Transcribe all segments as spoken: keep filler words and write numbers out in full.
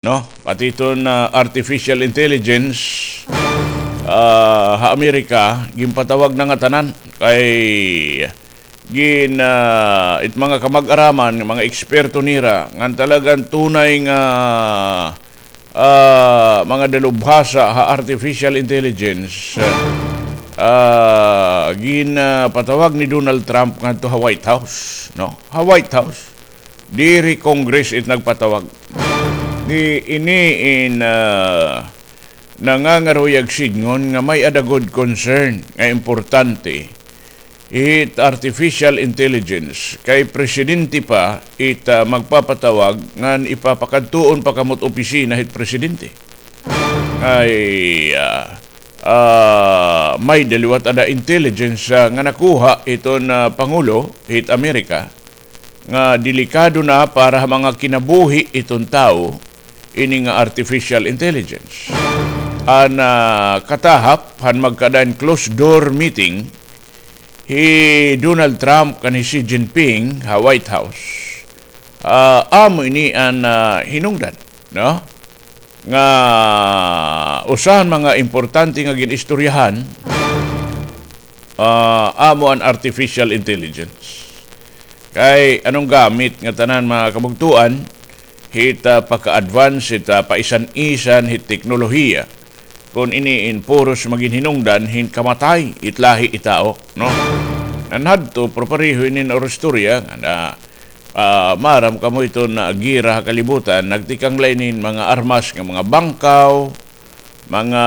no? Pati iton, ah, artificial intelligence, ah, ha Amerika, ginpatawag na ngatanan kay gin, ah, it mga kamag-araman, mga eksperto nira, ngan talagang tunay nga, ah, mga dalubhasa ha artificial intelligence, ah, gin, ah, patawag ni Donald Trump ngadto ha White House, no? Ha White House. Diri Congress it nagpatawag. Di ini in, ah, nangangaruyag sidngon nga may-ada gud concern nga importante it artificial intelligence kay presidente pa it, ah, magpapatawag ngan ipapakadtuon pa kamo it opisina hit presidente. Ay, ah, ah, may-ada liwat ada intelligence, ah, nga nakuha iton, ah, pangulo hit Amerika nga delikado na para ha mga kinabuhi iton tawo ini nga artificial intelligence. An, ah, katahap han magkaada hin closed door meeting hi Donald Trump kan hi Xi Jinping ha White House. Ah, amo ini an, ah, hinungdan, no? Nga usa han mga importante nga gin-istoryahan, ah, amo an artificial intelligence. Kay ano an gamit ngatanan, mga kabugtoan, hit, ah, pagka-advance, hit, ah, paisan-isan hit teknolohiya, kon ini in puros magin hinungdan hin kamatay hit lahi hit tawo, no? Ngan hadto, pero pareho ini nga istorya nga na, ah, maaram kamo iton, ah, gira ha kalibutan, nagtikang la ini hin mga armas nga mga bangkaw, mga,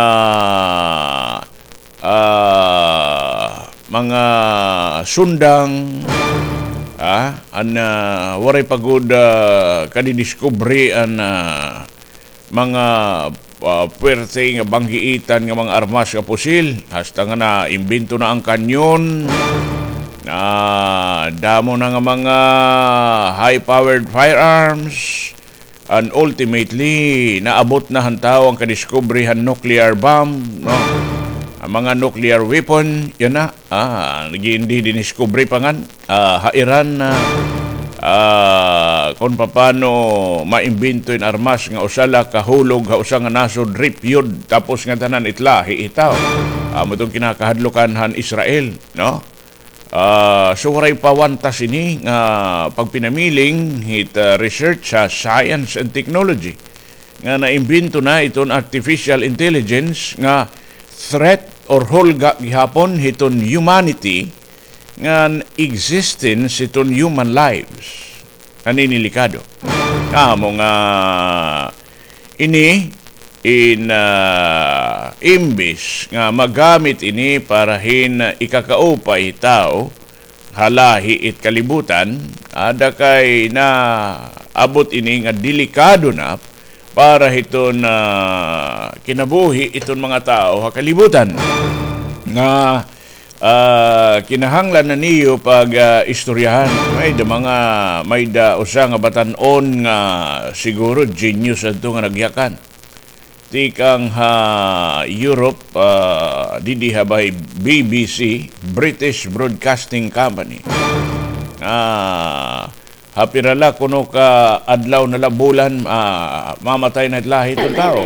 ah, mga sundang, ah, an, ah, waray pa gud, ah, kadidiskubre an, ah, mga, ah, puwerte nga banggiitan nga mga armas nga pusil, hasta nga naimbento na an kanyon, ah, damo na nga mga high-powered firearms, and ultimately, naabot na han tawo an kadiskubre han nuclear bomb, no? An mga nuclear weapon, yana, ah, nag-iindi diniskubre pa ngan, ah, ha Iran, ah, ah, kon papano maimbento in armas nga usa la kahulog ha usa nga nasod, rip yud, tapos ngatanan it lahi hit tawo. Amo iton kinakahadlukan han Israel, no? Ah, so, waray pa wantas ini nga pagpinamiling hit, ah, research ha science and technology nga naimbento na iton artificial intelligence nga threat or hulga gihapon hiton humanity ngan existence hiton human lives. An ini delikado. Amo nga ini in, ah, imbis nga magamit ini para hin ikakaupay tawo ha lahi it kalibutan, ada kay naabot ini nga delikado na para hiton, ah, kinabuhi iton mga tawo ha kalibutan. Nga, ah, kinahanglan na niyo pag, ah, istoryahan. May-ada mga, may-ada usa nga batan-on nga siguro genius adto nga nagyakan. Tikang ha Europe, ah, didi ha bay B B C, British Broadcasting Company. Ah, ha pira la kuno ka adlaw na la, bulan, ah, mamatay na it lahi iton tawo.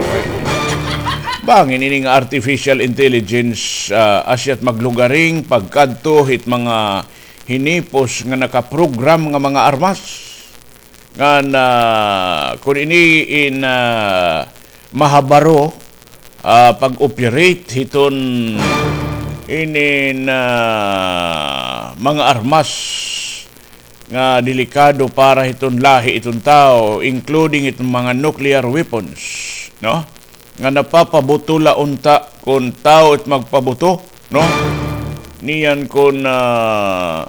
Bangin ini nga artificial intelligence, ah, asya it maglugaring pagkadto hit mga hinipos nga nakaprogram nga mga armas. Ngan, ah, kon ini in, ah, mahabaro, ah, pag-operate hiton inin, ah, mga armas nga delikado para hiton lahi iton tawo, including iton mga nuclear weapons, no? Nga napapabuto la unta kon tawo it magpabuto, no? Niyan kon, ah,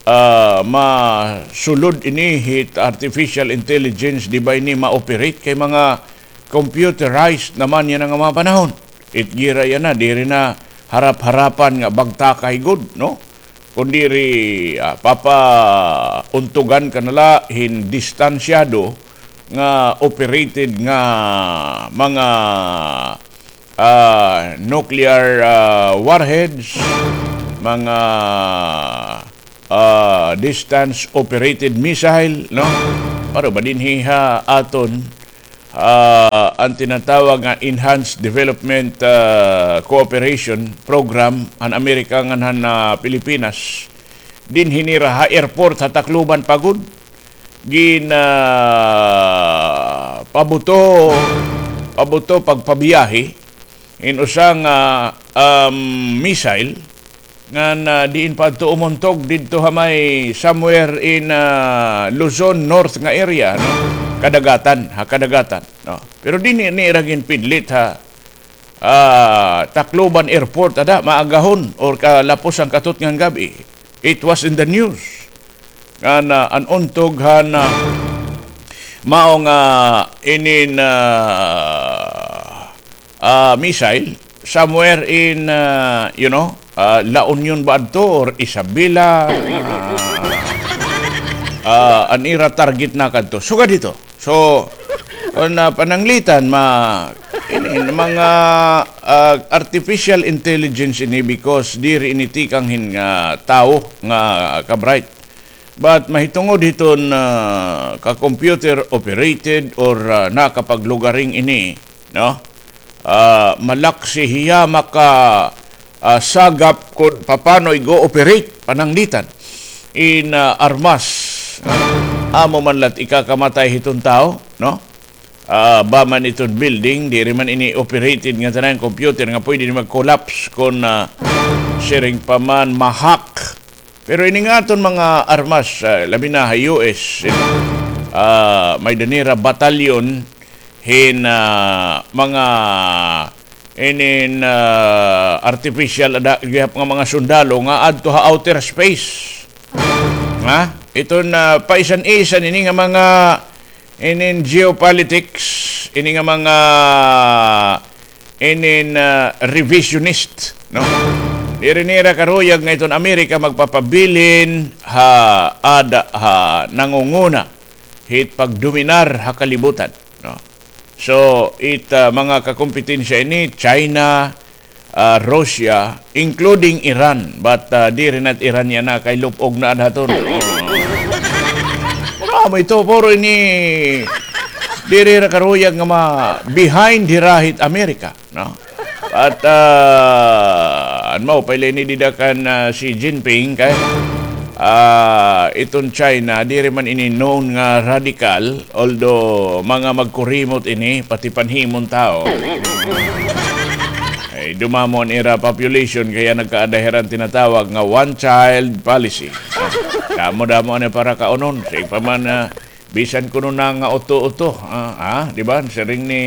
ah, masulod ini hit artificial intelligence, di ba ini ma-operate kay mga computerized naman yana nga mga panahon. It gira yana, diri na harap-harapan nga bagtakay gud, no? Kon diri, ah, papauntugan ka na la hin distansyado nga operated nga mga, ah, nuclear, ah, warheads, mga, ah, distance operated missile, no? Para ba dinhi ha aton, ah, an tinatawag nga Enhanced Development, ah, Cooperation Program han Amerika ngan han, ah, Pilipinas. Dinhi nira ha airport ha Tacloban pa gud. Gin, ah, pabuto, pabuto pagpabiyahe in usa nga, um, missile ngan, ah, diin pa adto umuntog didto ha may somewhere in, ah, Luzon North nga area, no? Kadagatan, ha kadagatan, no? Pero dinhi nira ginpidlit ha, ah, Tacloban Airport, ada, maagahon or kalapos han katutngan gab-i. It was in the news. Ngan, ah, an untog han, ah, mao nga inin, ah, ah, missile somewhere in, ah, you know, ah, La Union ba adto or Isabela, ah, ah, an ira target na kadto. Sugad hito. So, kon, ah, pananglitan, ma-, in, in mga, ah, artificial intelligence ini because diri ini tikang hin, ah, tawo nga ka-bright. But mahitungod hiton, ah, ka-computer operated or, ah, nakapaglugaring ini, no? Ah, malaksi hiya maka, ah, sagap kon papano ig-ooperate, pananglitan in, ah, armas. Amo man la't ikakamatay hiton tawo, no? Ah, ba man iton building, diri man ini operated nga tanan computer nga pwede ini mag-collapse kon, ah, siring pa man ma-hack. Pero ini nga aton mga armas, ah, labi na ha U S, ah, may-ada nira batalyon hin, ah, mga inin, ah, artificial ada gihap nga mga sundalo nga adto ha outer space. Ha? Iton, ah, paisan-isan ini nga mga inin geopolitics, ini nga mga inin, ah, revisionist, no? Diri nira karuyag nga iton Amerika magpapabilin ha ada ha nangunguna hit pagdominar ha kalibutan, no? So, it, ah, mga kakompetensya ini, China, ah, Russia, including Iran. But, ah, diri na it Iran yana kay lupog na adhaton. Pero amo ito, puro ini, diri ra karuyag nga ma-, behind hira hit Amerika, no? At, ah, an mao pa ini dida kan, ah, Xi Jinping kay, ah, iton China, diri man ini known nga radical, although mga magkurimot ini, pati panhimon tawo. Ay, dumamo an ira population, kaya nagkaada hira hin tinatawag nga one-child policy. Damo-damo an para kaunon. Sige pa man, ah, bisan kuno na nga uto-uto, ah, ah, di ba? Siring ni,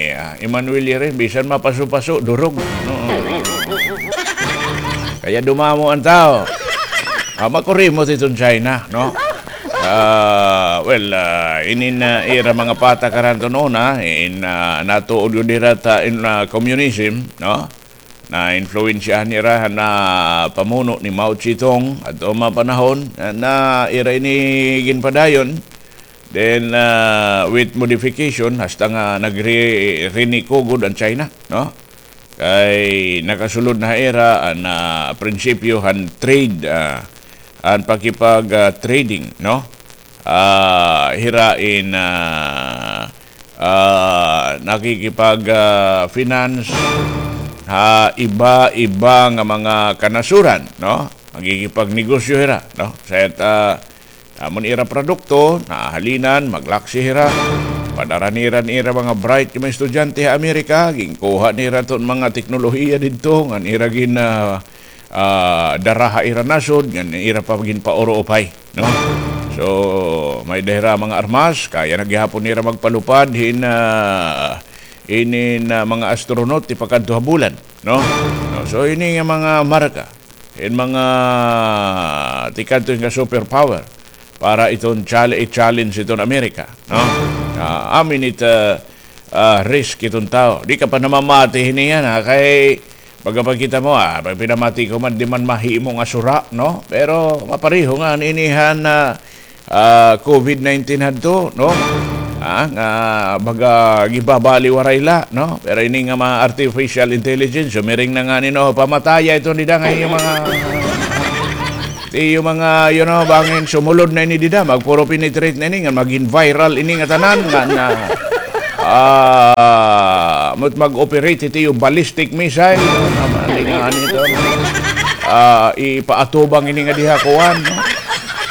ah, Emmanuel Yere, bisan mapaso-paso, durog. No? Kaya dumamo an tawo. Ah, makurimot iton China, no? Ah, well, ah, inin, ah, ira mga patakaran iton una, in, ah, natuod gud hira ta in, ah, communism, no? Naimpluwensyahan nira han pamuno ni Mao Zedong adto mga panahon, na ira ini ginpadayon. Then, ah, with modification, hasta nga nagre-, riniko gud an China, no? Kay nakasulod na ha ira an, ah, prinsipyo han trade, ah, an pakipag, ah, trading, no? Ah, hira in, ah, ah, nakikipag, ah, finance ha iba-iba nga mga kanasuran, no? Magkikipagnegosyo hira, no? Sa it, ah, amo an ira produkto, nahahalinan, maglaksi hira. Padara nira an ira mga bright nga mga estudyante ha Amerika, ginkuha nira iton mga teknolohiya didto, ngan ira gin, ah, ah, dara ha ira nasod, ngan ira pa ginpauro-upay, no? So, may-ada hira mga armas, kaya na gihapon nira magpalupad hin, ah, inin, ah, mga astronaut ipakadto ha bulan, no? No, so, ini nga mga marka hin mga tikadto nga superpower para iton chal-, i-challenge iton Amerika, no? Ah, amin it, ah, ah, risk iton tawo. Di ka pa namamati hini yana, kay baga pa kita mo, ah, pag pinamati ko man, di man mahimo nga sura, no? Pero mapareho nga an ini han, ah, ah, COVID nineteen hadto, no? Ah, nga baga gibabaliwaray la, no? Pero ini nga mga artificial intelligence, sumiring na ngani, no, pamataya iton dida nga iyo mga, iyo mga, you know, bangin sumulod na ini dida, magpuro penetrate na ini, nga magin viral ini nga tanan, nga na, Ah, mo't mag-operate ito yung ballistic missile, no? Tama, di nga nito, no? Ah, ipaatubang ini nga diha kuan, no?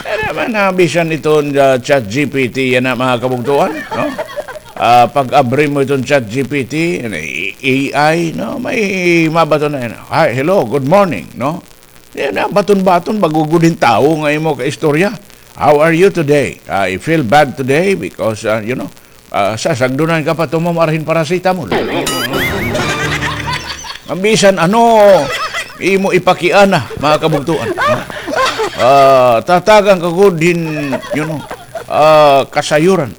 Kaya naman, ah, bisan iton, ah, Chat G P T, yana, mga kabugtuan, no? Ah, pag-abri mo iton Chat G P T, A I, no? May mabaton na yan. "Hi, hello, good morning," no? Yan na, baton-baton, bago gud hin tawo nga imo kaistorya. "How are you today?" "I feel bad today because, ah, you know, ah, sasagdunan ka pa tumom arhin paracetamol." Ang bisan ano, imo ipakiana, mga kabugtuan. Ah, tatagan ka gud hin, you know, ah, kasayuran.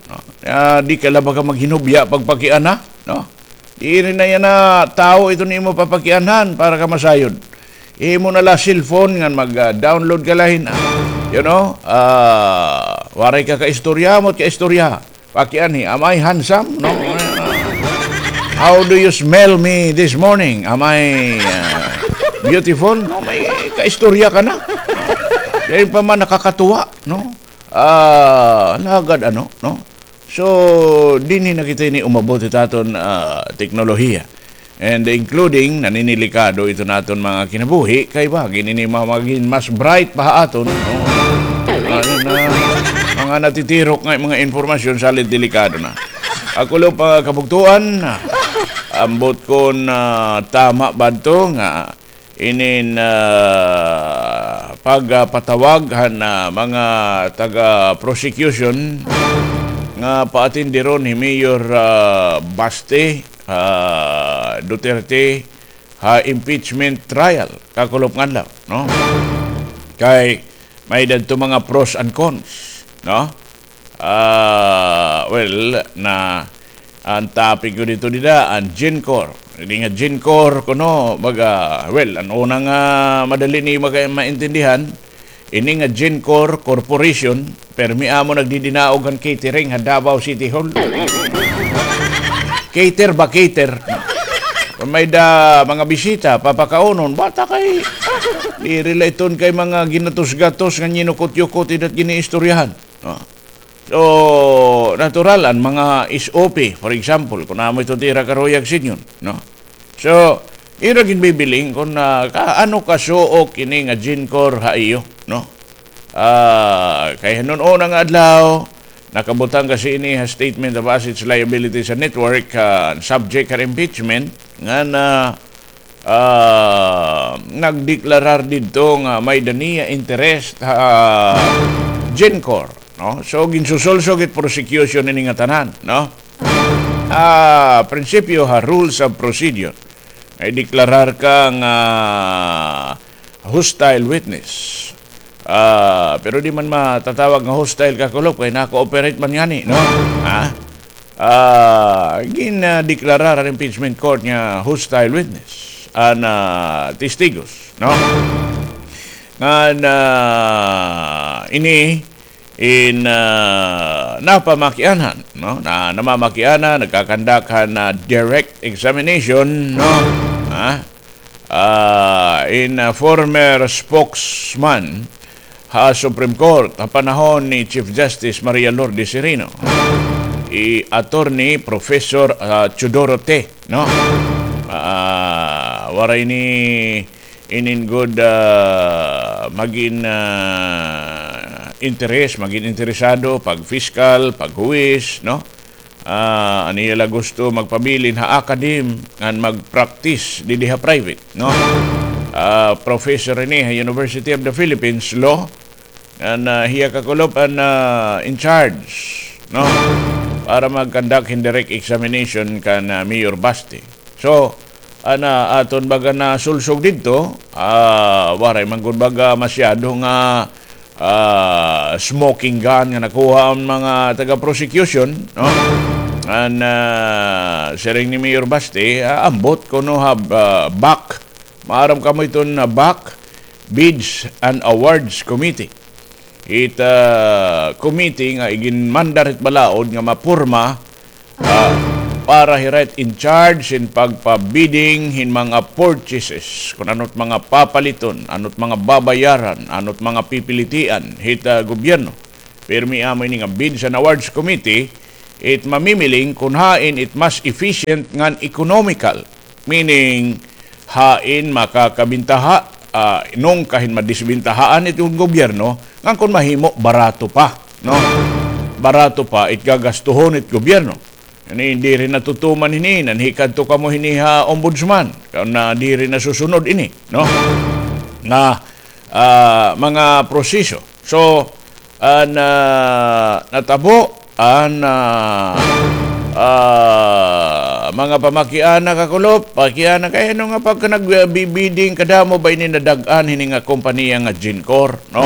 Ah, di ka la ba ka maghinubya pagpakiana, no? Diri na yana tawo iton imo papakianhan para ka masayod. Imo na la cellphone ngan mag, ah, download ka la hin, ah, you know, ah, waray ka kaistorya, mo't kaistorya. Pakianhi, "Am I handsome?" No? "How do you smell me this morning? Am I, ah, beautiful?" No, may kaistorya ka na. Kaya pa man nakakatuwa, no? Ah, lagad ano, no? So, dinhi na kita ini umabot hit aton, ah, teknolohiya. And including, naninilikado iton aton mga kinabuhi, kay ba, ginini ma-, magin mas bright pa ha aton, no? Ano na, mga natitirok nga mga impormasyon, salit delikado na. Ako lang, mga kabugtuan, ambot kon tama ba adto nga inin, ah, pagpatawag han, ah, mga taga-prosecution nga paatindiron hi Mayor, ah, Baste, ah, Duterte ha impeachment trial kakulop nga adlaw, no? Kay may-ada adto mga pros and cons, no? Ah, well, na an topic ko didto dida, an GenCor. Ini nga GenCor kuno, baga, well, an una nga madali ni maka-, maintindihan, ini nga GenCor Corporation, permi amo nagdidinaog han catering ha Davao City Hall. Cater ba, cater? Kon may-ada mga bisita, papakaunon, bata kay, diri la iton kay mga ginatos-gatos nga nyinukot-yukot idat giniistoryahan. Ah. So, natural, an mga S O P, for example, kon amo ito tira karuyag sidngon, no? So, ira ginbibiling kon, ah, ka-, ano kasuok ini nga GenCor ha iyo, no? Ah, kay han una nga adlaw, nakabutang kasi ini ha statement of assets liabilities and net worth, ah, subject ha impeachment, nga na, ah, nagdeklarar didto nga may-ada niya interest ha GenCor, no? So, ginsusulsog it prosecution ini nga tanan, no? Ah, prinsipyo ha rules of procedure, nga ideklarar ka nga hostile witness. Ah, pero di man matatawag nga hostile kakulop kay naka-cooperate man ngani, no? Ha? Ah, gin, ah, deklarar han impeachment court nga hostile witness an, ah, testigos, no? Ngan, ah, ini in, ah, napamakianhan, no? Na, namamakiana, nagkakandak han, ah, direct examination, no? Ha? Ah, in, ah, former spokesman ha Supreme Court ha panahon ni Chief Justice Maria Lourdes Sereno, hi Attorney Professor, ah, Teodoro Te, no? Ah, waray ni inin gud, ah, magin, ah, interes, magin interesado pag-fiscal, paghuwis, no? Ah, an iya la gusto magpabilin ha academe ngan mag-practice didi ha private, no? Ah, professor ini ha University of the Philippines Law, ngan, ah, hiya kakulop an, ah, in charge, no? Para mag-conduct hin direct examination kan, ah, Mayor Baste. So, ana, aton baga nasulsog didto, ah, waray man gud baga masyado nga, ah, smoking gun nga nakuha an mga taga-prosecution, no? An, ah, siring ni Mayor Baste, ah, ambot kuno ha, ah, BAC, maaram kamo iton, ah, BAC, Bids and Awards Committee. It, ah, committee nga iginmandar hit balaod nga maporma, ah, para hira it in charge hin pagpa-bidding hin mga purchases, kon ano it mga papaliton, ano it mga babayaran, ano it mga pipilitian hit, ah, gobyerno. Pirmi amo ini nga Bids and Awards Committee, it mamimiling kon hain it mas efficient ngan economical. Meaning, hain makakabintaha, ah, nungka hin madisbintahaan it gobyerno, ngan kon mahimo, barato pa, no? Barato pa it gagastuhon it gobyerno. Ini, diri natutuman hini, nanhikadto kamo hini ha ombudsman, kon, ah, diri nasusunod ini, no? Nga, ah, mga proseso. So, an, ah, natabo, an, ah, ah, mga pamakiana, kakulop, pakiana, kay ano nga pagka nag-, ah, bi-, bidding, kadamo ba ini nadag-an hini nga kompanya nga Gencor, no?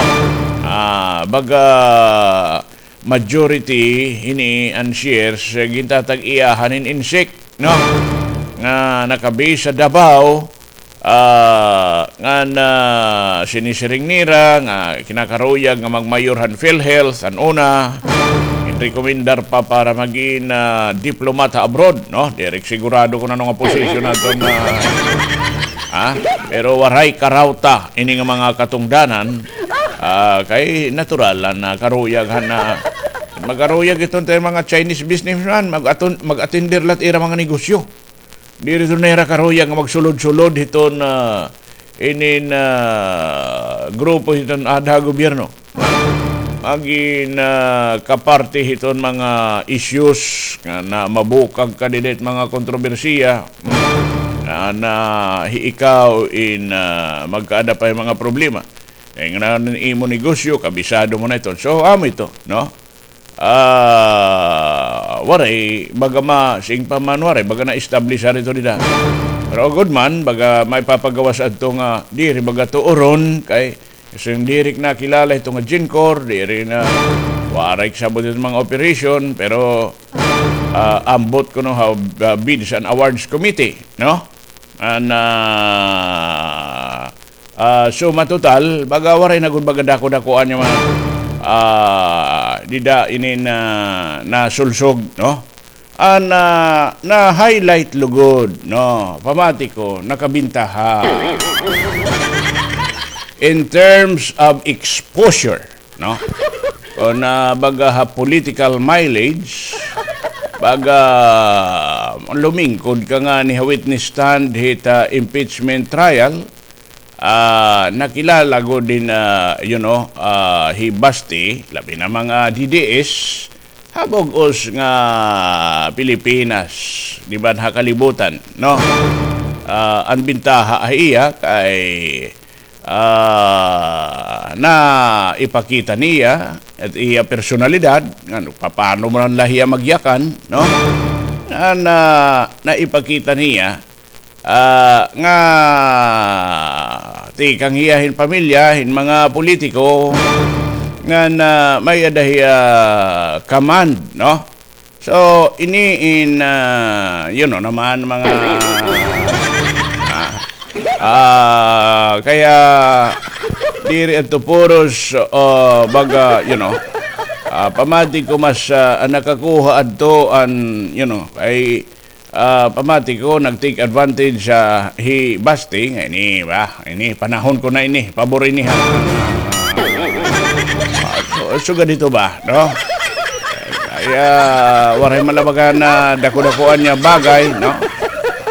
Ah, baga, majority hini an shares, eh, gintatag-iyahan hin INSIC, no? Nga naka-base sa Davao, ah, ngan, ah, sinisiring nira nga kinakaruyag nga magmayor han PhilHealth, an una, ginrekomendar pa para magin, ah, diplomat ha abroad, no? Diri ko sigurado kon ano nga posisyon naton, ah, ha? Pero waray karawta ini nga mga katungdanan, ah, kay natural la nga karuyag han, ah, makaruyag iton mga Chinese businessman, mag-atun-, mag-atender la hit ira mga negosyo. Diri iton nira karuyag nga magsulod-sulod hiton, ah, inin, ah, grupo hiton aada ha gobyerno. Magin, ah, kaparte hiton mga issues nga na mabukag ka dida hit mga kontrobersiya. Nga na hi ikaw in, ah, magkaada pa hin mga problema. Kay ngani an imo negosyo, kabisado mo na iton. So, amo ito, no? Ah, waray, baga ma-, siring pa man waray, baga na-establish ha ito dida. Pero gud man, baga may papagawas adto nga, diri baga tuoron, kay, kasi diri nakilala ito nga Gencor, diri na, waray kasabot ito mga operation, pero, ah, ambot kuno ha, ah, bids and awards committee, no? An, ah, ah, suma total, baga waray na gud baga dako-dakoan nga mga, ah, dida ini na nasulsog, no? An, ah, na-highlight lugod, no? Pamati ko, nakabintaha. In terms of exposure, no? Kon, ah, baga ha political mileage, baga lumingkod ka ngani ha witness stand hit, ah, impeachment trial, ah, nakilala gud hin, ah, you know, ah, hi Basti, labi na mga D D S, ha bug-os nga Pilipinas, di ba, ha kalibutan, no? Ah, an bintaha ha iya kay, ah, naipakita niya it iya personalidad, ngano, papano man la hiya magyakan, no? Nga na, naipakita niya, ah, nga tikang hiya hin pamilya hin mga politiko, nga na may-ada hiya command, no? So, ini in, ah, you know naman, mga, ah, ah, kaya diri adto puros, ah, baga, you know, ah, pamati ko mas, ah, nakakuha adto an, you know, kay, ah, pamati ko nag-take advantage, ah, hi Basti, nga ini ba? Ini, panahon ko na ini, pabor ini, ha? Ah, su-, sugad hito ba, no? Kay, ah, waray man la baga nadako-dakoan nga bagay, no?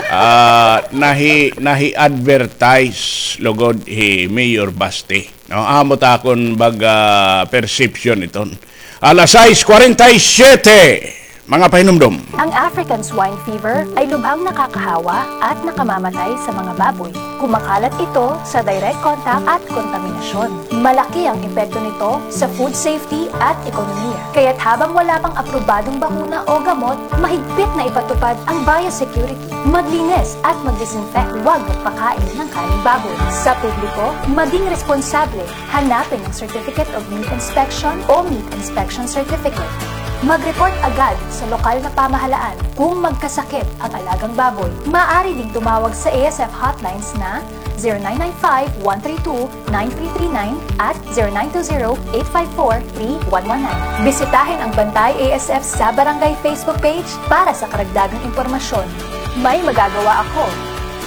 Ah, nahi-, nahi-advertise lugod hi Mayor Basti, no? Amo ta akon baga perception iton. Alas sais kwarenta y siyete, mga pahinumdom. Ang African swine fever ay lubhang nakakahawa at nakamamatay sa mga baboy. Kumakalat ito sa direct contact at kontaminasyon. Malaki ang epekto nito sa food safety at ekonomiya. Kaya't habang wala pang aprobadong bakuna o gamot, mahigpit na ipatupad ang biosecurity. Maglinis at mag-disinfect, huwag magpakain ng karneng baboy. Sa publiko, maging responsable. Hanapin ang Certificate of Meat Inspection o Meat Inspection Certificate. Mag-report agad sa lokal na pamahalaan kung magkasakit ang alagang baboy. Maaari ding tumawag sa A S F hotlines na zero nine nine five, one three two, nine three three nine at zero nine two zero, eight five four, three one one nine. Bisitahin ang Bantay A S F sa Barangay Facebook page para sa karagdagang impormasyon. May magagawa ako.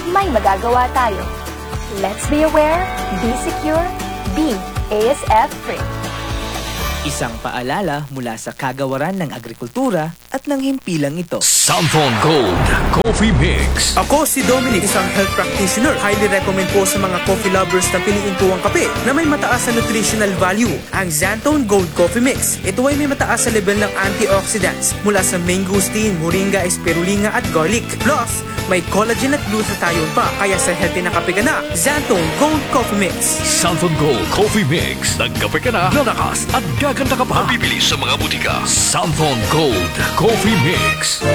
May magagawa tayo. Let's be aware, be secure, be A S F free. Isang paalala mula sa kagawaran ng agrikultura at ng himpilang ito. Santon Gold Coffee Mix. Ako si Dominic, isang health practitioner. Highly recommend po sa mga coffee lovers na piliin po ang kape na may mataas na nutritional value, ang Santon Gold Coffee Mix. Ito ay may mataas na level ng antioxidants mula sa mangosteen, moringa, spirulina at garlic. Plus, may collagen at glutathione pa, kaya sa healthy na kape ka na, Santon Gold Coffee Mix. Santon Gold Coffee Mix. Nagkape ka na, lalakas at gaganda ka pa. Mabibili sa mga butika. Santon Gold Coffee Mix.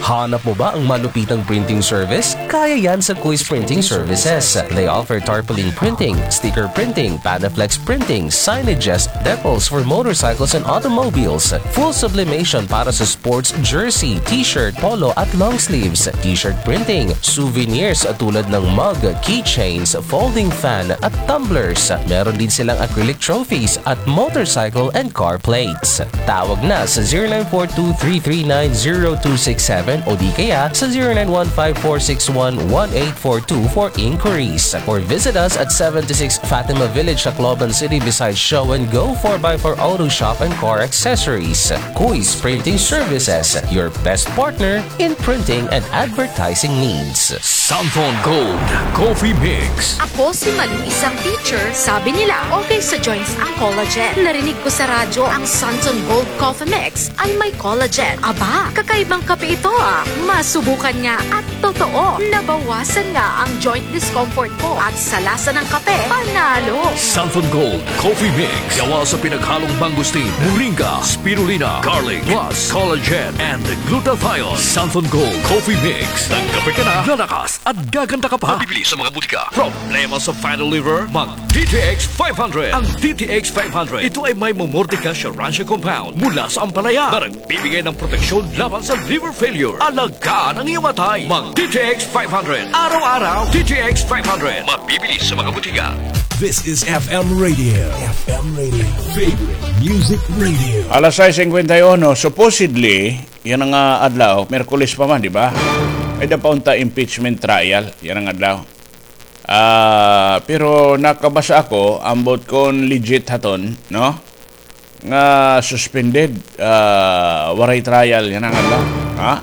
Hanap mo ba ang malupitang printing service? Kaya yan sa Kuis Printing Services. They offer tarpaulin printing, sticker printing, Panaflex printing, signages, decals for motorcycles and automobiles, full sublimation para sa sports jersey, t-shirt, polo at long sleeves, t-shirt printing, souvenirs tulad ng mug, keychains, folding fan at tumblers. Meron din silang acrylic trophies at motorcycle and car plates. Tawag na sa zero nine four two three three nine zero two six seven o di kaya sa zero nine one five four six one one eight four two for inquiries. Or visit us at seventy-six Fatima Village, Tacloban City, beside Show and Go four by four Auto Shop and Car Accessories. Kuis Printing Services, your best partner in printing and advertising needs. Santon Gold Coffee Mix. Ako si Malu, isang teacher. Sabi nila, okay sa joints ang collagen. Narinig ko sa radyo ang Santon Gold Coffee Mix ay may collagen. Aba, kakaibang kape ito ah. Masubukan nga at totoo, nabawasan nga ang joint discomfort ko at sa lasa ng kape, panalo. Santon Gold Coffee Mix. Gawa sa pinaghalong mangosteen, moringa, spirulina, garlic, plus collagen and glutathione. Santon Gold Coffee Mix. Nagkape ka na, lalakas at gaganda ka pa. Mabibili sa mga butika. Problema sa fatty liver? Mag D T X five hundred. Ang D T X five hundred, ito ay may Momordica Scheiranzia compound mula sa ampalaya na nagbibigay ng proteksyon laban sa liver failure. Alagaan ang iyong atay. Mag D T X five hundred. Araw-araw, D T X five hundred. Mabibili sa mga butika. This is F M Radio. F M Radio. Favorite Music Radio. Alas sais singkwenta y uno, supposedly, yana nga adlaw, Miyerkules pa man, di ba? May-ada pa unta impeachment trial, yana nga adlaw. Ah, pero nakabasa ako, ambot kon legit haton, no? Nga suspended, ah, waray trial, yana nga adlaw. Ha?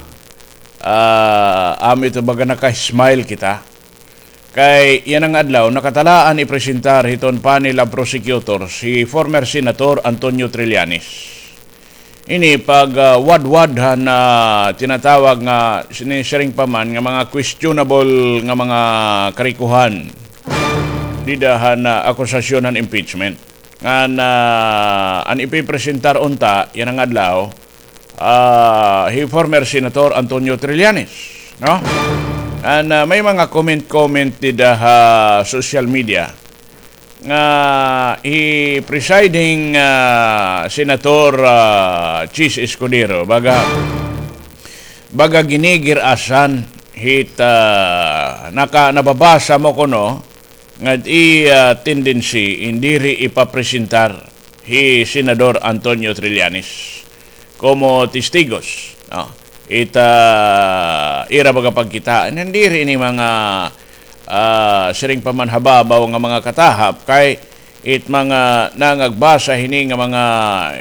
Ah, amo ito baga naka-smile kita. Kay yana nga adlaw, nakatalaan ipresentar hiton panel of prosecutors hi former Senator Antonio Trillanes. Ini pag, ah, wadwad han, ah, tinatawag nga sini-, siring pa man nga mga questionable nga mga karikohan dida han, ah, akusasyon han impeachment. Ngan, ah, an ipipresentar unta yana nga adlaw, ah, hi former Senator Antonio Trillanes, no? Ngan, ah, may mga comment-comment dida ha social media nga hi presiding, ah, Senator, ah, Chiz Escudero, baga, baga ginigir-asan hit, ah, naka-, nababasa mo kuno nga it iya tendency in diri ipapresentar hi Senador Antonio Trillanes komo testigos, no? It, ah, ira baga pagkita, ngan diri ini mga, ah, siring pa man hababaw nga mga katahap, kay it mga nangagbasa hini nga mga,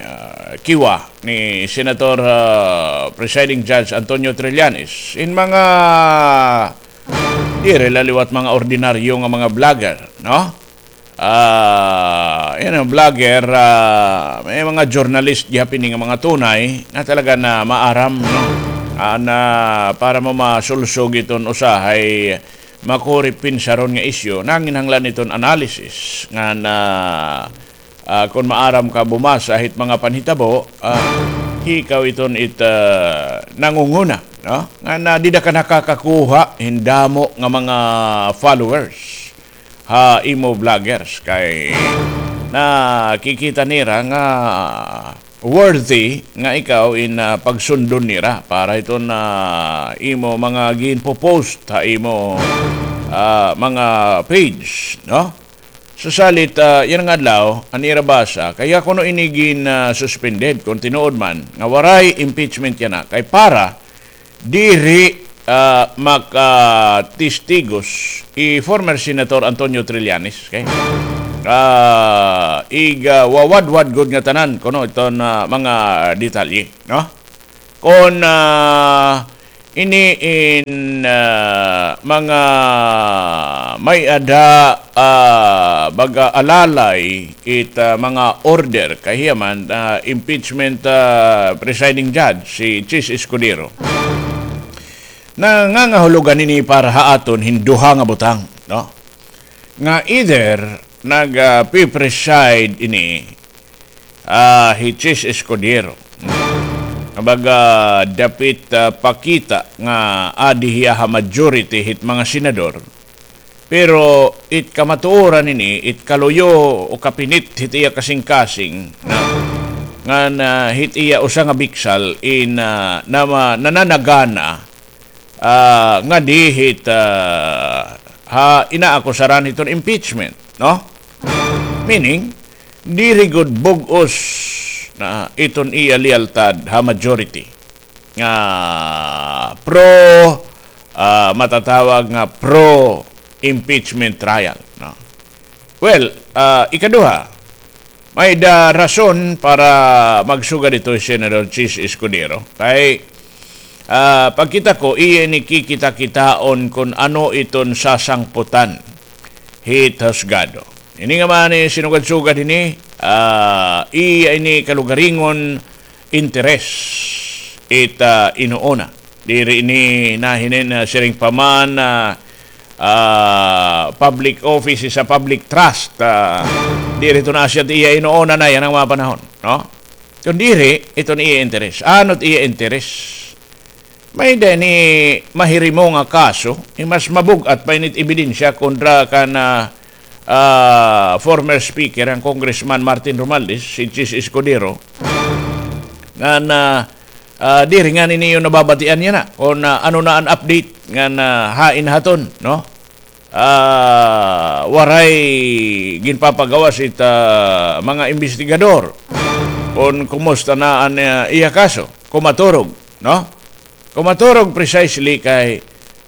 ah, kiwa ni Senator, ah, Presiding Judge Antonio Trillanes, in mga diri la liwat mga ordinaryo nga mga vlogger, no? Ah, yana, vlogger, ah, may mga journalist gihap ini nga mga tunay na talaga na maaram, no? Ah, na para mo masulsog iton usahay makuri pinsaron nga isyu, nanginahanglan iton analysis nga na, ah, kon maaram ka bumasa hit mga panhitabo, ah, ikaw iton it, ah, nangunguna, no? Nga na dida ka nakakakuha hin damo nga mga followers ha imo vloggers kay nakikita nira nga worthy nga ikaw in, ah, pagsundon nira para hiton, ah, imo mga ginpo-post ha imo, ah, mga page, no? Sa salit, ah, yana nga adlaw, an ira basa, kay kuno ini gin, ah, suspended, kon tinuod man, nga waray impeachment yana, kay para diri, ah, makatestigos hi former Senator Antonio Trillanes, okay? ah, iga wawadwad gud nga tanan kuno iton, ah, mga detalye, no? Kon, ah, ini in, ah, mga may-ada, ah, baga alalay it, ah, mga order, kay hiya man, ah, impeachment, ah, presiding judge, si Chiz Escudero. Nangangahulogan ini para ha aton hin duha nga butang, no? Nga either nag, ah, pi-preside ini, ah, hi Chiz Escudero. Nga baga dapit, ah, pakita nga adi hiya ha majority hit mga senador. Pero it kamatuoran ini, it kaluyo o kapinit hit iya kasingkasing, na, ngan hit iya usa nga biksal in, ah, nama-, nananagana, ah, ngadi hit, ah, ha inaakusaran hiton impeachment, no? Meaning, diri gud bug-os na iton iya lealtad ha majority nga pro, ah, matatawag nga pro impeachment trial, no? Well, ah, ikaduha, may-ada rason para magsugad ito hi Senador Chiz Escudero. Kay, ah, pagkita ko, iya ini kikita-kitaon kon ano iton sasangputan hit husgado. Ini nga man, eh, sinugad-sugad ini, ah, iya ini kalugaringon interes it, ah, inuuna. Diri ini nahinin, ah, siring pa man, ah, ah, public office is a public trust. Ah, diri ito na siya iya inuuna na yana nga mga panahon, no? Kon diri, iton iya interes. Ano it iya interes? May-ada ini mahirimo nga kaso, eh, mas mabug-at pa ini it ebidensya kontra kan, ah, ah, former speaker, an Congressman Martin Romualdez, si Chiz Escudero, ngan, ah, diri ngani niyo nababatian yana kon, ah, ano na an update ngan, ah, hain ha aton, no? Ah, waray ginpapagawas it, ah, mga imbestigador kon kumusta na an, ah, iya kaso. Kon maturog, no? Kon maturog precisely kay,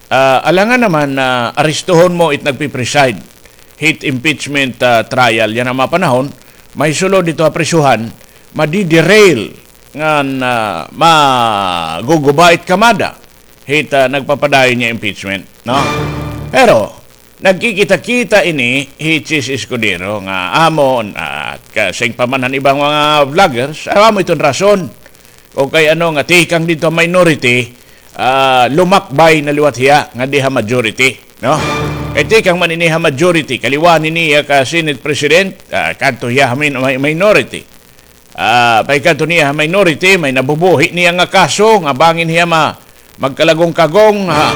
ah, alangan naman na aristuhon mo it nagpi-preside hit impeachment, ah, trial yana nga mga panahon, mahisulod didto ha prisuhan, madi-derail ngan, ah, maguguba it kamada hit, ah, nagpapadayon nga impeachment, no? Pero nagkikita-kita ini hi Chiz Escudero nga amo, at ka-, siring pa man han ibang mga vloggers, amo iton rason. O kay ano nga tikang didto ha minority, ah, lumakbay na liwat hiya ngadi ha majority, no? Kay tikang man ini ha majority, kaliwaan ini hiya ka Senate President, ah, kadto hiya ha min-, mi-, minority. Ah, pagkadto niya ha minority, may nabubuhi niya nga kaso nga bangin hiya ma-, magkalagong-kagong, ha,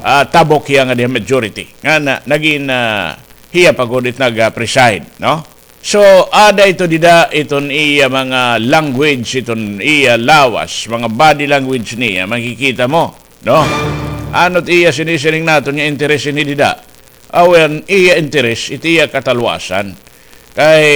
ah, tabok hiya ngadi ha majority. Nga na, nagin, ah, hiya pa gud it nag, ah, preside, no? So, ada ito dida, iton iya mga language, iton iya lawas, mga body language niya, makikita mo, no? Ano it iya sinisiring naton nga interes ini dida? Aw, an iya interes, it iya katalwasan. Kay,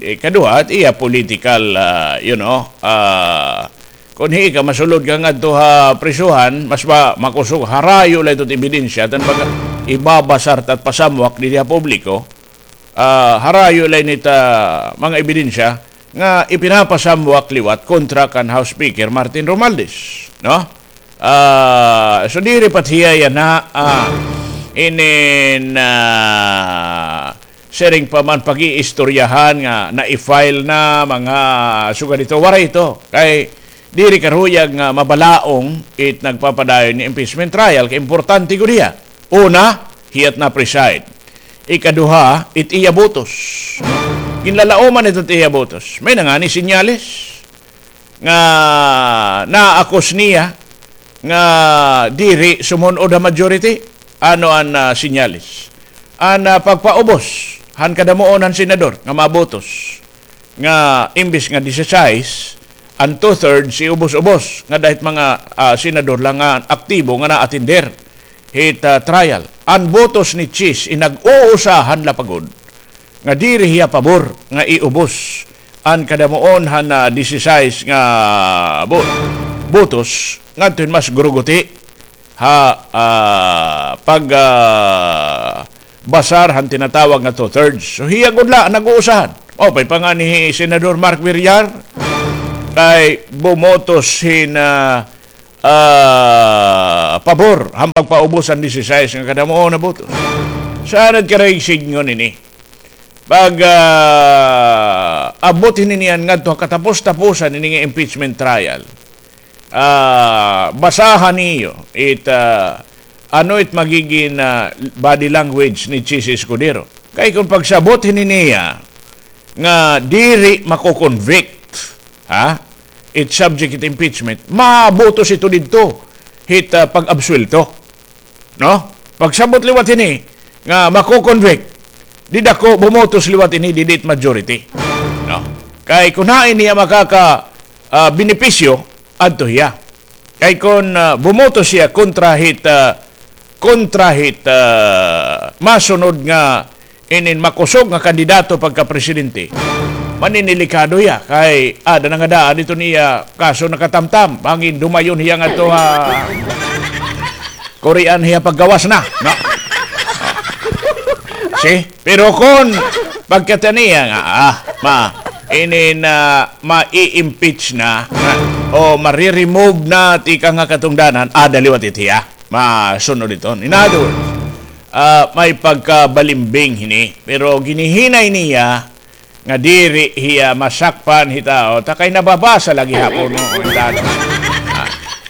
eh, kaduha, it iya political, ah, you know, ah, kon hi ka masulod ka ngadto ha prisuhan, mas ma-, makusog, harayo la ito it ebidensya, tan baga, ibabasar ta at pasamwak didi ha publiko, ah, harayo la ini it mga ebidensya nga ipinapasamwak liwat kontra kan House Speaker Martin Romualdez, no? Ah, so diri pa hiya yana, ah, inin, ah, siring pa man pag-iistoryahan nga na-file na mga sugad ito, waray ito. Kay diri karuyag nga mabalaong it nagpapadayon nga impeachment trial, kay importante gud hiya. Una, hiya it na-preside. Ikaduha, it iya botos. Ginlalaoman ito it iya botos. May na ngani senyales nga naakus niya nga diri sumun-od ha majority. Ano an, ah, senyales? An, ah, pagpaubos han kadamuon han senador nga mga botos. Nga imbis nga disisais, an two-thirds iubos-ubos nga dahit mga, ah, senador la nga aktibo nga naatender hit, ah, trial. An botos ni Chiz, inag-uusahan la pa gud nga diri hiya pabor nga iubos an kadamuon han, ah, disisais nga bo-, botos ngadto hin mas guruguti ha, ah, pag, ah, basar han tinatawag nga two-thirds. So, hiya gud la nag-uusahan. O, pay pa nga ni Senador Mark Villar, kay bumotos hin, ah, ah, pabor han pagpaubos han disisais nga kadamuon na botos. Sa anad ka ray sidngon ini? Pag, ah, abot hini niyan ngadto ha katapos-taposan ini nga impeachment trial, ah, basahan niyo it, ah, ano it magigin, ah, body language ni Chiz Escudero. Kay kon pagsabot hini niya nga diri mako-convict, ha? It subject it impeachment, mabutos ito didto hit, ah, pag-absuwelto. No? Pagsabot liwat hini nga mako-convict, dida ko bumotos liwat ini, didi it majority. No? Kay kon hain niya makaka, ah, benepisyo, adto hiya. Kay kon, ah, bumotos hiya kontra hit, ah, kontra hit, ah, masunod nga inin makusog nga kandidato pagkapresidente, maninilikado hiya kay ada na nga daan iton iya kaso nakatamtam. Bangin dumayon hiya ngadto ha Korean hiya paggawas na, no? See? Pero kon pagkita niya nga, ah, ma, inin, ah, mai-impeach na, o mare-remove na tikang ha katungdanan, ada liwat it hiya masunod iton. In other words, ah, may pagkabalimbing hini. Pero ginihinay niya nga diri hiya masakpan hit tao, ta kay nababasa la gihapon, no? Ang dado. Ah,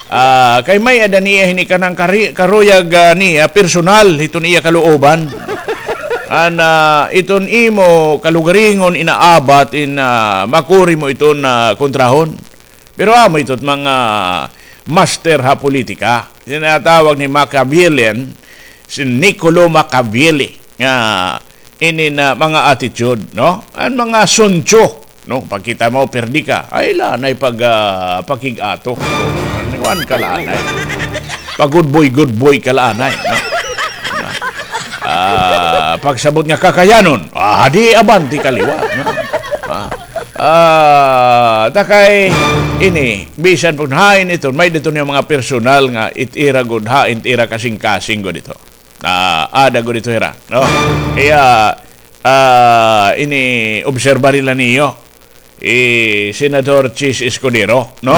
ah, kay may-ada niya hini kanang kari-, karuyag, ah, niya, personal, hiton iya kalooban. An, ah, iton imo kalugaringon inaabat in, ah, makuri mo iton, ah, kontrahon. Pero amo ito it mga master ha politika. Tinatawag ni Machiavellian, si Niccolo Machiavelli, nga ini na mga attitude, no? An mga suncho, no? Pagkita mo, perdi ka. Ay, lanay pag, ah, pakig-ato. Kuan ka lanay. Pag-good boy, good boy ka lanay, no? Ah, pagsabot nga kakayanon, ah, di abante ka liwat, no? Ah, ah, ta kay ini, bisan pag hain iton, may-ada iton nga mga personal nga it ira gud hain, it ira kasingkasing gud ito. Ah, ada gud ito hira, no? Kaya, ah, ini obserbar la niyo. I Senador Chiz Escudero, no?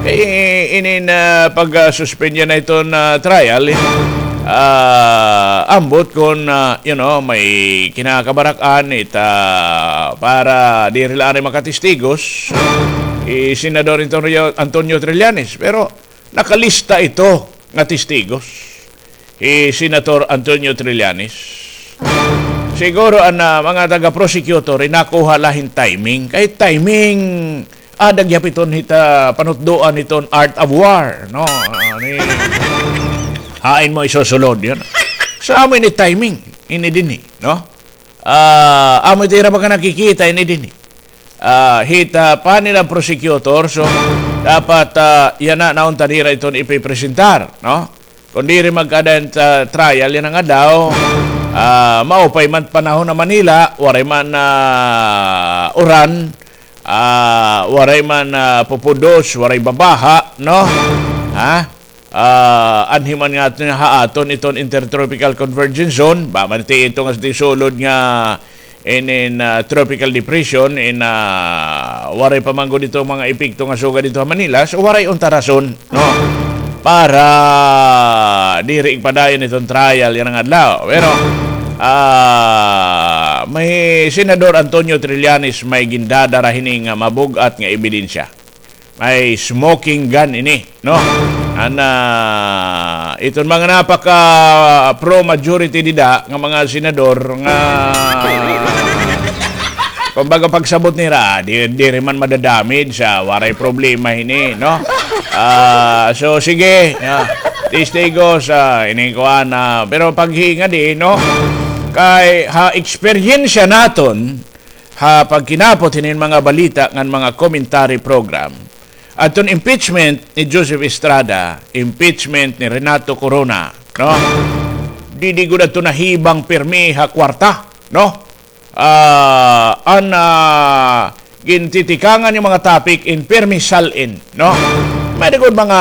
Kay inin, ah, pag, ah, suspend niya na iton, ah, trial, eh, ah, ambot kon, ah, you know, may kinakabarak-an ita para diri la anay makatestigos, i Senador Antonio, Antonio Trillanes. Pero nakalista ito nga testigos, hi Senator Antonio Trillanes. Siguro an, ah, mga taga-prosecutor, inakuha la hin timing. Kay timing, ada gihap iton hita panutdoan hiton art of war, no? Ah, ni, hain mo isusulod, yun. So, amo ini timing, ini dinhi, no? Ah, amo ito ira mga nakikita ini dinhi. Ah, hita pa nila prosecutor, so dapat, ah, yana naunta nira iton ipipresentar, no? Kon diri magkaada hin, ah, trial yana nga adlaw, ah, maupay man panahon ha Manila, waray man, ah, uran, ah, waray man, ah, pupudos, waray babaha, no? Ha? Ah, anhi man nga aton, ha aton iton Intertropical Convergence Zone, ba man ti ito nga sulod nga inin, ah, tropical depression, in, ah, waray pa man gud ito mga epekto nga sugad dito ha Manila, so waray unta rason, no? Para diri igpadayon iton trial yana nga adlaw. Pero, ah, may Senador Antonio Trillanes may gindadara hini nga mabug-at nga ebidensya. May smoking gun ini, no? Ana, iton mga napaka pro majority dida nga mga senador nga, kumbaga, pagsabot nira, di, diri man madadamage, ah, waray problema hini, no? Ah, so, sige, ah, testigos, ah, ini kuan, ah, pero paghinga di, no? Kay ha eksperyensya naton, ha pagkinapot hinin mga balita ngan mga commentary program, adton impeachment ni Joseph Estrada, impeachment ni Renato Corona, no? Didi gud adto nahibang pirmi ha kwarta, no? Ah, an, ah, gintitikangan nga mga topic in pirmi sal-in, no? May-ada gud mga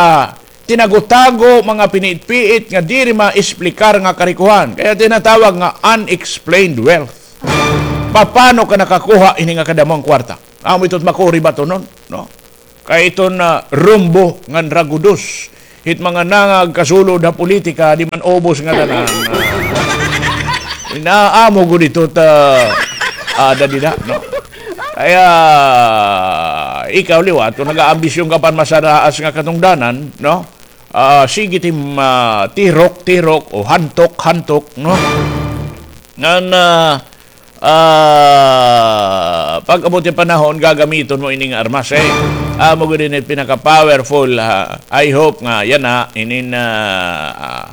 tinago-tago, mga piniit-piit nga diri maesplikar nga karikohan. Kaya tinatawag nga unexplained wealth. Paano ka nakakuha ini nga kadamo nga kwarta? Amo ito it makuri ba ito, no? No? Kay iton, ah, rumbo ngan ragudos hit mga nangagkasulod ha politika, di man ubos nga tanan. Inaamo gud ito ta, ah, dadida, no? Kaya, ikaw liwat, kung nag-aambisyon ka pan masaraas nga katungdanan, no? Ah, sige tim, ah, tirok, tirok, o hantok, hantok, no? Ngan, ah, ah, pag-abot it panahon, gagamiton mo ini nga armas, eh. Amo gud ini pinaka-powerful, ha. I hope nga yana, inin, ah, ah,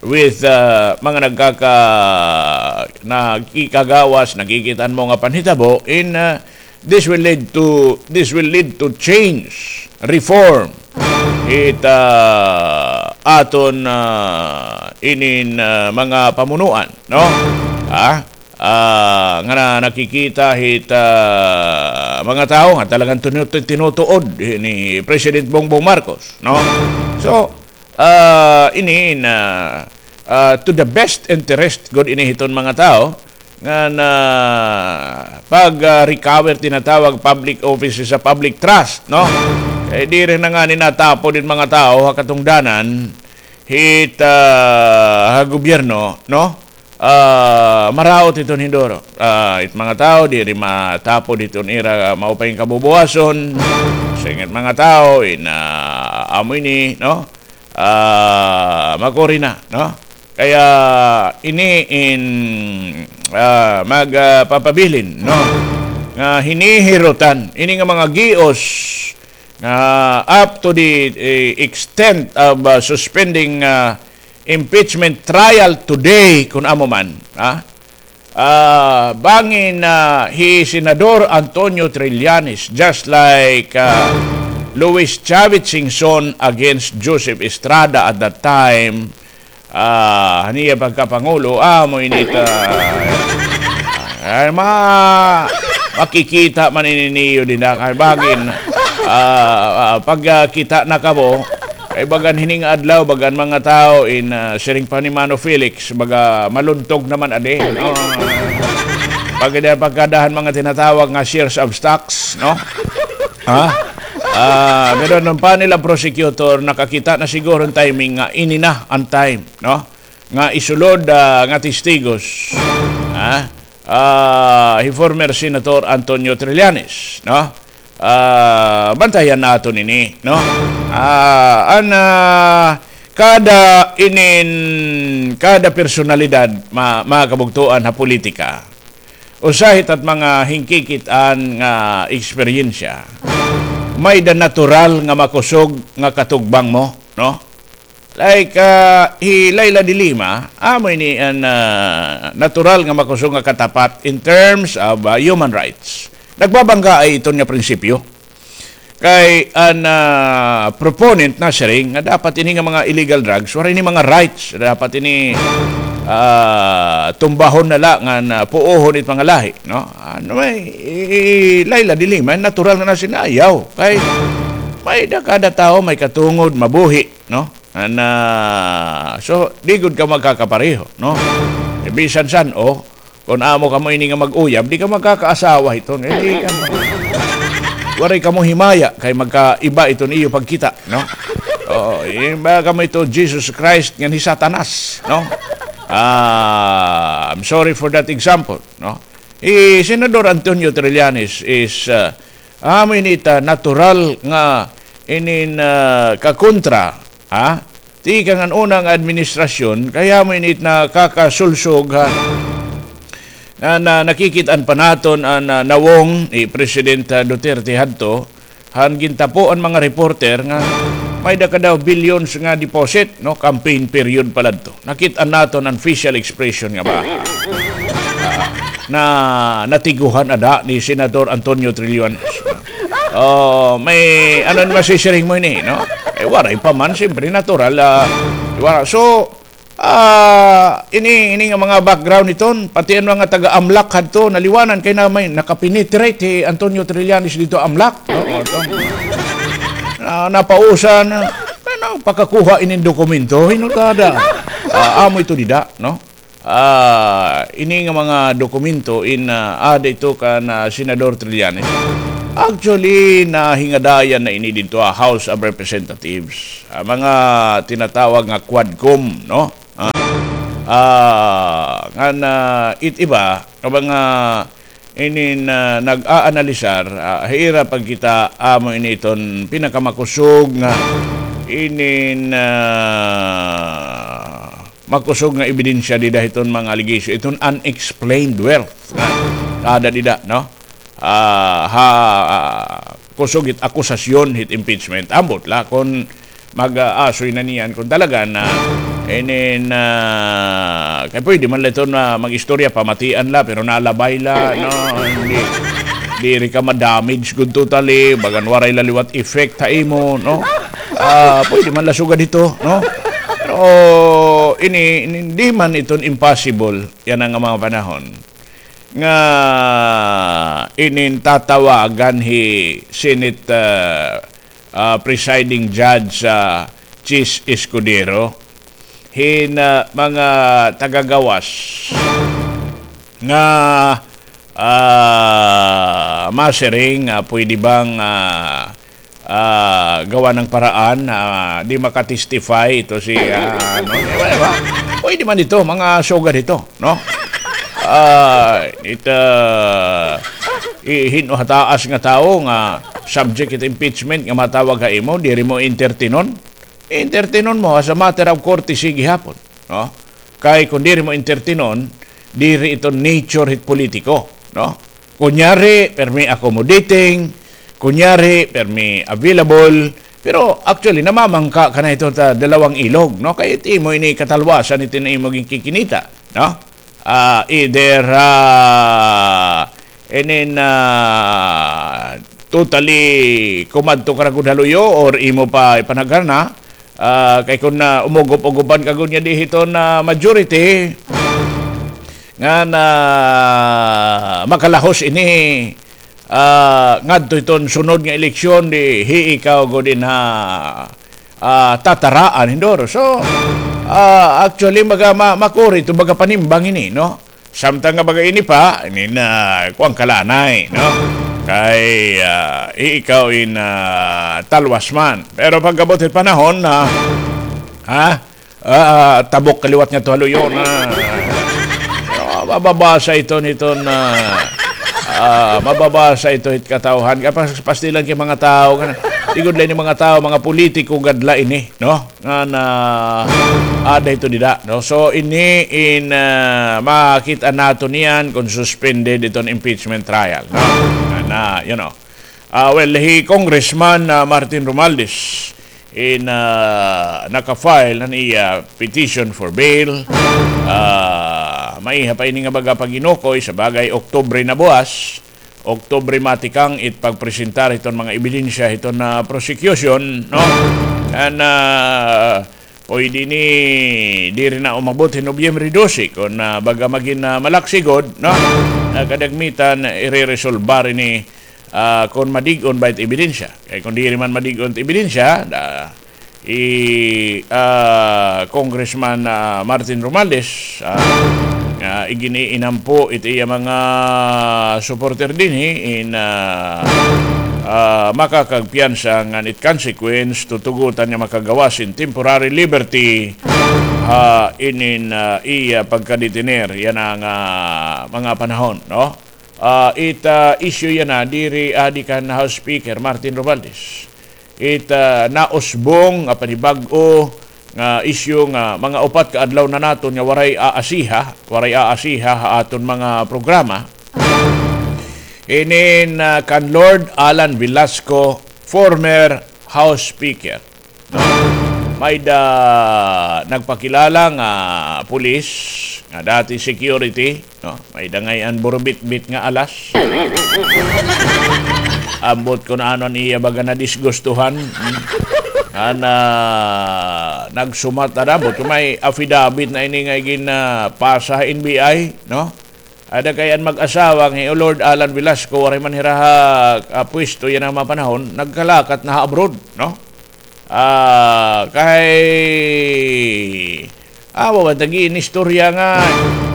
with, ah, mga nagkaka-, nagkikagawas, nagkikit-an mo nga panhitabo, in, ah, this will lead to, this will lead to change, reform. It, ah, aton, ah, inin, ah, mga pamunuan, no? Ah, ah, nga na, nakikita hit, ah, mga tawo nga talagang tinu-, tinutuod ni President Bongbong Marcos, no? So, ah, ini na, ah, to the best interest gud ini hiton mga tawo nga na pag, ah, recover, tinatawag, public offices sa public trust, no? Kay diri na ngani natapod it mga tawo ha katungdanan hit, ah, ha gobyerno, no? Ah, maraot iton hinduro. Ah, it mga tawo diri matapod iton ira maupay nga kabubuhason. Singit mga tawo in, ah, amo ini, no? Ah, makuri na, no? Kaya ini in, ah, mag, ah, papabilin, no? Nga hinihirutan ini nga mga gios nga up to the, eh, extent of, ah, suspending, ah, impeachment trial today, kun amo man, ha? Ah, bangin, ah, hi Senador Antonio Trillanes, just like, ah, Luis Chavez Singson against Joseph Estrada at that time, ah, han iya pagkapangulo, amo ini ta, ay, ma-, makikita man ini niyo dinha, kay bangin, ah, ah, pagkita na kamo, kay bagan hini nga adlaw, bagan mga tawo in, ah, siring pa ni Mano Felix, baga maluntog naman adi, no? Pag-, pagkada han mga tinatawag nga shares of stocks, no? Ha? Ah, pero an panel of prosecutor, nakakita na siguro an timing nga ini na an time, no? Nga isulod, ah, nga testigos, ha? Ah, hi former Senator Antonio Trillanes, no? Ah, bantayan naton ini, no? Ah, an, ah, kada inin, kada personalidad, ma-, mga kabugtoan ha politika, usa hit at mga hinkikit-an nga eksperyensya, may-da natural nga makusog nga katugbang mo, no? Like, ah, hi Leila de Lima, amo ini an, ah, natural nga makusog nga katapat in terms of, ah, human rights. Nagbabangga ay iton nga prinsipyo. Kay an, ah, proponent nasiring nga dapat ini nga mga illegal drugs, waray ini mga rights, dapat ini, ah, tumbahon na la ngan, ah, puohon it mga lahi, no? Ano may, i-, i-, Leila de Lima, natural nga nasiring, ayaw. Kay may-da kada tawo, may katungod, mabuhi, no? An, ah, so, di gud ka magkakapareho, no? Eh, bisan san-o, kun amo kamo ini nga mag-uyab, di ka magkakaasawa hiton. Eh, di ka, waray kamo himaya kay magkaiba iton iyo pagkita, no? Oo, iba kamo ito Jesus Christ ngan hi Satanas, no? Ah, I'm sorry for that example, no? Hi Senador Antonio Trillanes is, ah, amo ini it natural nga inin, ah, kakontra, ha? Tikang an una nga administrasyon, kay amo ini it nakakasulsog, ha? Na, na, nakikit-an pa naton an, ah, nawong ni President, ah, Duterte hadto, han gintapo an mga reporter nga may-da ka daw billions nga deposit, no? Campaign period pa la adto. Nakit-an naton an facial expression nga ba, ah, na natiguhan ada ni Senador Antonio Trillanes. Oh, may, ano an masisiring mo ini, no? Eh, waray pa man, siyempre, natural, ah, wala. So, ah, ini, ini nga mga background hiton, pati an mga taga-AMLAC hadto, naliwanan kay na may nakapenetrate hi Antonio Trillanes didto AMLAC, no? O, ito. Na, napausan, ano, Pakakuha inin dokumento, hinutada. Ah, amo ito dida, no? Ah, ini nga mga dokumento in, ah, ada ito kan, ah, Senador Trillanes. Actually, nahingadayan na ini didto, ah, House of Representatives. Ah, mga tinatawag nga Quadcom, no? Ah, ah, ngan, ah, it iba, nga mga inin, ah, nag-aanalisar, ah, ha ira pagkita, amo ini iton pinakamakusog nga inin, ah, makusog nga ebidensya dida hiton mga allegation, iton unexplained wealth nga ada dida, no? Ah, ha, ah, kusog hit akusasyon hit impeachment. Ambot la kon mag-aasoy na niyan kon talaga na, inin, ah, kay pwede man la ito na mag-istorya, pamatian la, pero nalabay la, no? Hindi, diri ka ma-damage gud totally, bagan waray la liwat effect ha imo, no? Ah, pwede man la sugad ito, no? Pero ini, ini, di man iton impossible, yana nga mga panahon. Nga inin tatawagan hi Senate, ah, ah, Presiding Judge, ah, Chiz Escudero, hin, ah, mga tagagawas nga, ah, masiring, ah, pwede bang, ah, ah, gawa ng paraan, ah, di maka-testify ito si, ah, ano, di ba, di ba? Pwede man ito, mga sugad ito, no? Ah, it, ah, i-, hin-o ha taas nga tawo nga subject it impeachment nga matawag ha imo, diri mo entertainon? Entertainon mo as a matter of courtesy gihapon, no? Kay kon diri mo entertainon, diri ito nature hit politiko, no? Kunyari, permi accommodating, kunyari, permi available, pero actually, namamangka ka na ito ta dalawang ilog, no? Kay it imo ini katalwasan ito na imo ginkikinita, no? Ah, either, ah, inin, ah, totally kumadto ka na gud ha luyo or imo pa ipanagharana, ah, kay kon, ah, umugup-ugupan ka gud nga di hiton, ah, majority, ngan makalahos ini, ah, ngadto hiton sunod nga eleksyon, di hi ikaw gud in ha, ah, tataraan, Hindoro. So, ah, actually, maga-, ma-, makuri ito, baga panimbang ini, no? Samtang nga baga ini pa, ini na, kuwan ka la anay, no? Kay, ah, hi ikaw in, ah, talwas man. Pero pagkabot hit panahon na, ha? Ah, tabok ka liwat ngadto ha luyo na. Ah, mababasa ito nito na, ah, mababasa ito hit katawhan. Kay pas-, pastilan kay mga tawo, kana. Di gud la ini mga tawo, mga politiko gad la ini, no? Nga na, ada ito dida, no? So, ini in, ah, makita naton niyan kon suspended iton impeachment trial, no? Nga na, you know. Ah, well, hi Congressman, ah, Martin Romualdez in, ah, naka-file an iya petition for bail. Ah, maiha pa ini nga baga pag-inukoy, sa bagay, Oktubre na buwas. Oktubre matikang it pagpresentar hiton mga ebidensya hiton, ah, prosecution, no? And, ah, pwede ini diri na umabot hin Nobyembre dose kon, ah, baga magin, ah, malaksi gud, no? Nga kadagmitan, ireresolbar ini, ah, kon madig-on ba it ebidensya. Kay kon diri man madig-on it ebidensya, da, hi, ah, Congressman, ah, Martin Romualdez, ah, nga igin-iinampo it iya mga supporter dinhi in, ah, ah, makakagpiyansa ngan it consequence, tutugotan nga makagawas hin temporary liberty, ah, inin, ah, iya pagkadetener yana nga, ah, mga panahon, no? Ah, it, ah, issue yana, diri adi kan House Speaker Martin Romualdez. It, ah, nausbong nga panibag-o nga issue nga mga upat ka adlaw na naton nga waray aasiha, waray aasiha ha aton mga programa. Inin, ah, kan Lord Alan Velasco, former House Speaker. No? May-da nagpakilala nga pulis, nga dati security, no? May-da ngay-an burubitbit nga alas. Ambot kon ano an iya baga nadisgustuhan. Hmm. Ana, nagsumat na, ambot kon may affidavit na ini nga igin, ah, pasa ha N B I, no? Ada kay an mag-asawa nga hi Lord Alan Velasco, waray man hira ha, ah, pwesto yana nga mga panahon, nagkalakat na ha abroad, no? Ah, kay, ah, wa ba tagi inistorya nga,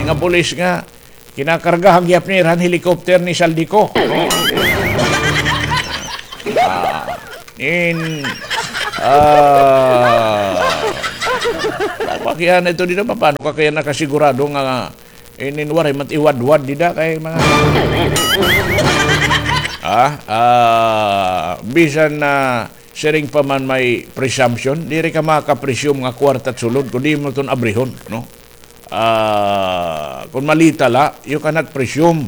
nga pulis nga, kinakargahan gihap nira han helicopter ni Zaldy Co. Ah, in, ah, pakiana ito dida, paano ka kaya nakasigurado nga inin waray man iwadwad dida kay mga, ah, ah, bisan na siring pa man may presumption, diri ka maka-presume nga kwarta it sulod, kun di mo iton abrihon, no? Ah, kun malita la, you cannot presume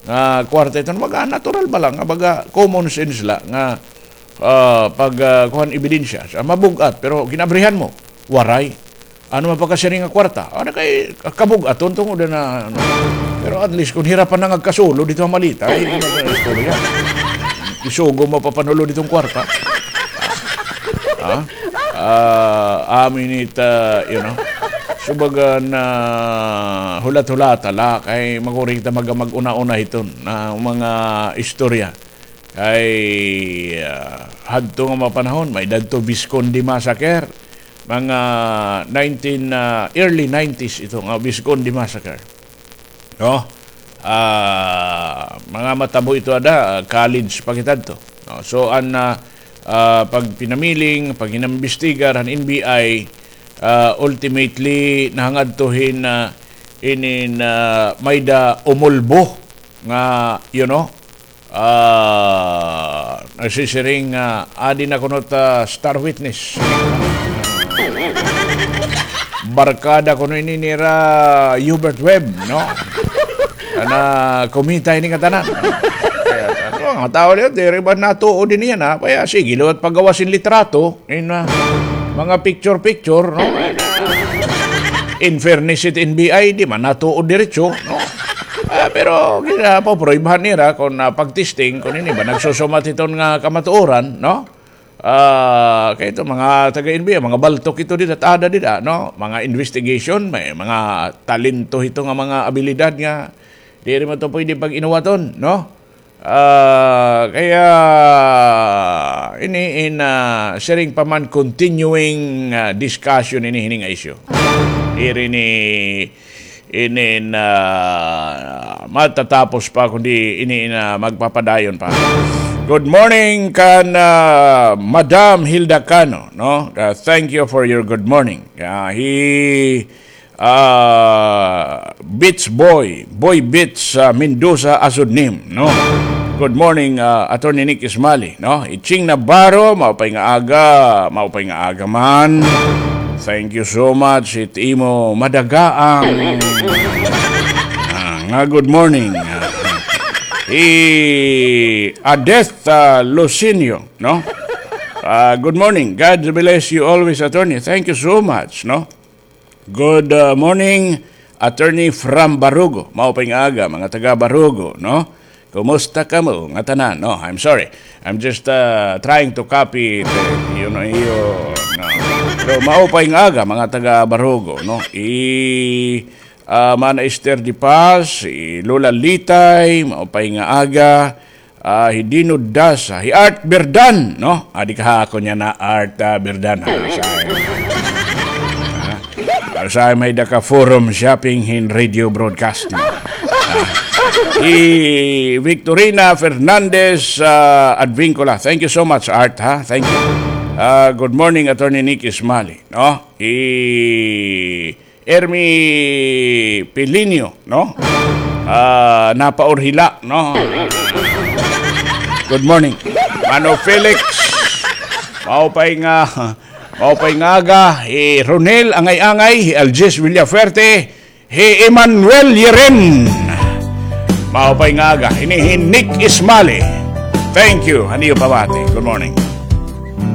nga kwarta iton. Baga, natural ba la nga, baga, common sense la nga, ah, pag, ah, kuan, ebidensya, sa mabug-at, pero ginabrihan mo, waray. Ano man pagkasiring nga kwarta? Ano kay kabug-aton tungod na, ano. Pero at least, kung hirapan na nga kasulod dito ang malita, ay, ano na istorya? Isugo mo papanulod itong kwarta. Ha? Ah, amin it, ah, you know, subaga na hulat-hulata la, kay makuri kita mag-, mag-una-una hiton na mga istorya. Kay, ah, hadto nga mga panahon, may dadto Visconde Massacre, mga nineteen, ah, early nineties ito nga Visconde Massacre. No? Ah, mga matabo ito ada, ah, college pa kita adto. No? So, an, ah, ah, pagpinamiling, paghinambistigar han N B I, ah, ultimately, nahangadto hin, ah, inin, ah, may da umulbo nga, you know, ah, nagsisiring, ah, adi na kuno ta star witness. Barkada kuno ini nira Hubert Webb, no? Ana, kumita ini ngatanan. Kaya, ano, mga tao liwat, diri ba natuod ini yana? Kaya, sige, liwat paggawas hin litrato, in, ah, mga picture-picture, no? In fairness it N B I, di man natuod diretso, no? Ah, pero, kaya, paproybahan nira kung, ah, pag-testing, kung ini ba nagsusumat hiton nga kamatuoran, no? Ah, kay ito, mga taga-N B I, mga baltok ito dida, tada dida, no? Mga investigation, may mga talento hito nga mga abilidad nga diri man ito pwede pag-inuwaton, no? Ah, kaya, ini in, ah, siring pa man continuing, ah, discussion ini hini nga issue. Iri ni inin, ah, matatapos pa kundi ini na magpapadayon pa. Good morning kan, ah, Madam Hilda Cano, no? Ah, thank you for your good morning. Ah, hi, ah, Beach Boy, Boy Beach, ah, Mendoza Asudnim, no? Good morning, ah, Attorney Nick Ismali, no? Iching Navarro, maupay nga aga, maupay nga aga man. Thank you so much. It imo madagaang, ah, nga good morning. Ah, hi Adeth, ah, Lucinio, no? Ah, good morning. God bless you always, attorney. Thank you so much, no? Good, ah, morning, Attorney from Barugo. Maupay nga aga, mga taga Barugo, no? Kumusta kamo nga tanan? No, I'm sorry. I'm just, ah, trying to copy it, eh, you know, iyo, no. Pero maupay nga aga, mga taga Barugo, no? I, ah, Mana Esther de Paz, i Lola Litay, maupay nga aga. Ah, hi Dino Dasa, hi Art Berdan, no? Adi ka ha ako niya na Art, ah, Berdan, ha? Sa, ha? Sa may da ka forum shopping hin radio broadcast, no? Ah, hi Victorina Fernandez, ah, Advincula. Thank you so much, Art, ha? Thank you. Ah, good morning, Attorney Nick Ismali, no? Hi Ermi Pilinio, no? Ah, napaurhila, no? Good morning. Mano Felix, maupay nga, maupay nga aga, hi Ronel Angay-Angay, hi Algis Villafuerte, hi Emmanuel Yeren. Maupay nga aga, ini hi Nick Ismali. Thank you. Ano yung pabati? Good morning.